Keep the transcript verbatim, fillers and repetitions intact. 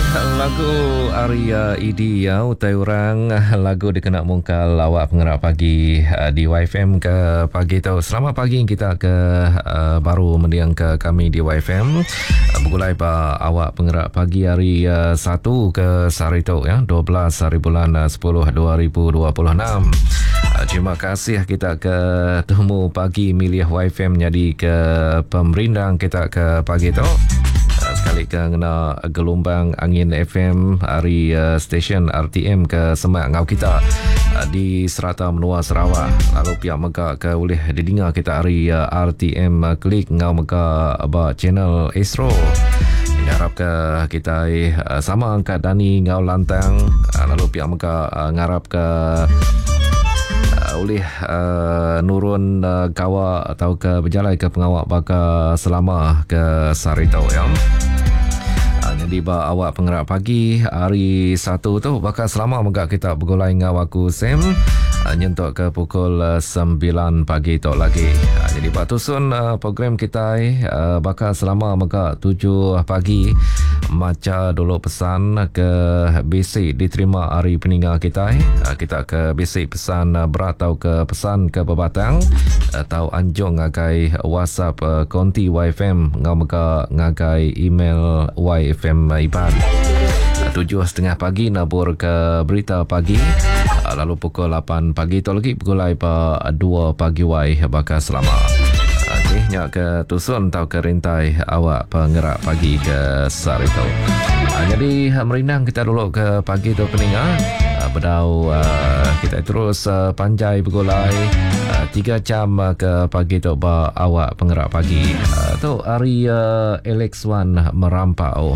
Lagu ari E D ya, utai orang, lagu dikena mungkal awak pengerak pagi uh, di Y F M ke pagi tu. Selamat pagi kita ke uh, baru mendiang ke kami di Y F M. Uh, bergulai ba awak pengerak pagi hari uh, satu ke sehari tu ya, dua belas hari bulan uh, sepuluh dua ribu dua puluh enam. Uh, terima kasih kita ke temu pagi milih Y F M jadi ke pemerindang kita ke pagi tu sekali ke ngena gelombang angin F M hari uh, stesen R T M ke semak ngau kita uh, di serata menua Sarawak, lalu pihak mega ke boleh didengar kita hari uh, R T M uh, klik ngau mega ba channel Astro. Ngarap ke kita uh, sama angkat dani ngau lantang, uh, lalu pihak mega uh, ngarap ke uh, oleh uh, nurun uh, gawa atau ke berjalan ke pengawak baka selama ke sarito ya. Uh, jadi ba awak pengerak pagi hari satu tu bakal selama megak kita bergulai ngau aku Sam uh, nyentuk ke pukul uh, sembilan pagi tu lagi. Uh, jadi ba tusun uh, program kita uh, bakal selama megak tujuh pagi maca dulu pesan ke B C diterima hari peninggal kita. Uh, kita ke B C pesan uh, berat atau ke pesan ke bebatang atau anjung ngagai WhatsApp uh, konti Y F M ngau mega ngagai email Y F M Iban. Tujuh setengah pagi nabur ke berita pagi, lalu pukul lapan pagi tu lagi pukul dua pagi Y bakal selama. Okey, nyak ke tusun atau ke rintai awak pengerak pagi ke sehari tu. Ha, jadi merindang kita dulu ke pagi tu peninga. Bedau uh, kita terus uh, panjai bergulai uh, tiga jam uh, ke pagi tu ba awak pengerak pagi. Uh, tu hari uh, Alex One merampau.